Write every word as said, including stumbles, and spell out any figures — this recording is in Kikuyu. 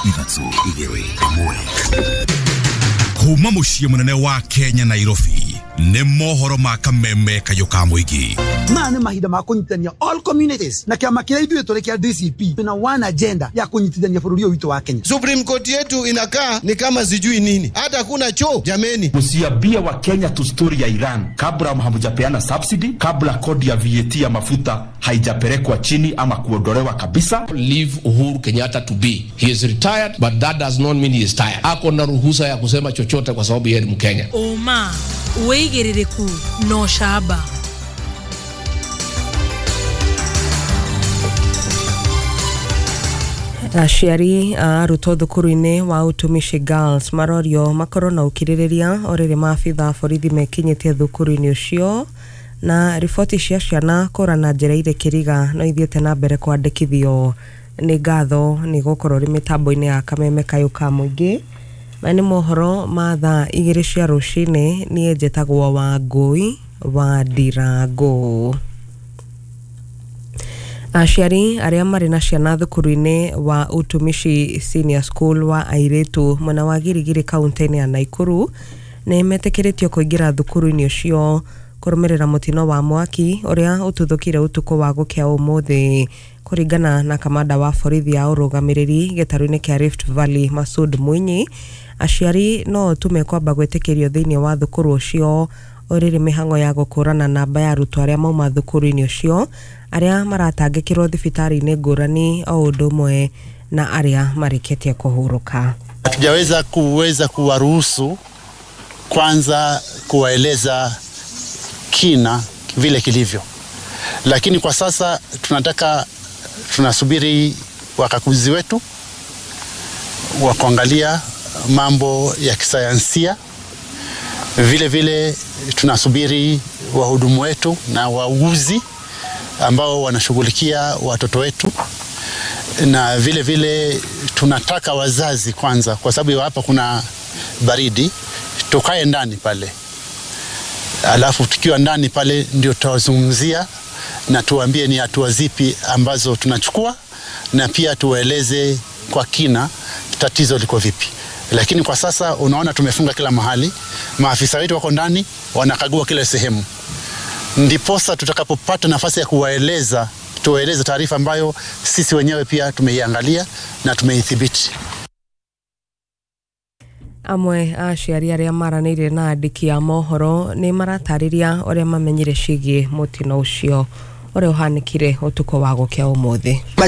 Ithatũ, igĩrĩ, ĩmwe. Kuma mũciĩ mũnene wa Kenya, Nairobi, nĩ mohoro ma kameme kayũ ka mũingĩ. Maya nĩ mahinda ma kũnyitithania all communities, na kĩama kĩrĩa ithuĩ tũrĩ kĩa D C P twĩna one agenda ya kũnyitithania bũrũri ũyũ witũ wa Kenya. Supreme Court yetu inakaa ni kama sijui nini, hata kuna choo jameni. Msiambie wa Kenya tu story ya Iran kabla hamjapeana subsidy, kabla kodi ya V A T ya mafuta haijapelekwa chini ama kuondolewa kabisa. Leave Uhuru Kenyatta to be. He is retired, but that does not mean he is tired. Ako na ruhusa ya kusema chochote kwa sababu yeye ni Mkenya. Ũma, wĩigĩrĩrĩku na ũcamba. Aciari a arutwo thukuru-inĩ wa Utumishi Girls marorio makorwo na ũkirĩrĩria o rĩrĩ maabitha a borithi mekinyĩtie thukuru-inĩ ũcio. Na riboti cia ciana kũra na njĩra irĩ kĩriga no ithiĩte na mbere kwandĩkithio. Nĩ ngatho nĩ gũkorwo rĩ mĩtambo-inĩ ya kameme kayũ ka mũingĩ. Maya nĩ mohoro ma thaa igĩrĩ cia rũcinĩ. Niĩ njĩtagwo Wangũi wa Ndirangũ. Aciari arĩa marĩ na ciana thukuru-inĩ wa Utumishi Senior School wa airĩtu mwena wa Girigiri kaunti-inĩ ya Naikuru nĩ metĩkĩrĩtio kũingĩra thukuru-inĩ ũcio kũrũmĩrĩra mũtino wa mwaki ũrĩa ũtuthũkire ũtukũ wa gũkĩa ũmũthĩ. Kũringana na kamanda wa borithi ya ũrũgamĩrĩri gĩtarũ-inĩ kĩa Rift Valley, Masud Mwinyi, aciari no tu mekwamba gwĩtĩkĩrio thĩinĩ wa thukuru ũcio o rĩrĩ mĩhang'o ya gũkũrana namba ya arutwo arĩa mauma thukuru-inĩ ũcio arĩa maratangĩkĩrwo thibitarĩ-inĩ ngũrani o ũndũ ũmwe na arĩa marĩkĩtie kũhurũka. Hatujaweza kuweza kuwaruhusu kwanza kuwaeleza kina vile kilivyo, lakini kwa sasa tunataka tunasubiri wakaguzi wetu wa kuangalia mambo ya kisayansia. Vile vile tunasubiri wahudumu wetu na wauguzi ambao wanashughulikia watoto wetu, na vile vile tunataka wazazi kwanza, kwa sababu hapa kuna baridi, tukae ndani pale, alafu tukiwa ndani pale ndio tutawazungumzia na tuambie ni hatua zipi ambazo tunachukua, na pia tuwaeleze kwa kina tatizo liko vipi. Lakini kwa sasa unaona tumefunga kila mahali, maafisa wetu wako ndani wanakagua kila sehemu, ndiposa tutakapopata nafasi ya kuwaeleza tuwaeleze taarifa ambayo sisi wenyewe pia tumeiangalia na tumeithibiti. Amwe a aciari arĩa maranĩirie na andĩki a mohoro nĩ maratarĩria ũrĩa mamenyire ciĩgiĩ mũtino ũcio ũrĩa ũhanĩkire ũtukũ wa gũkĩa ũmũthĩ.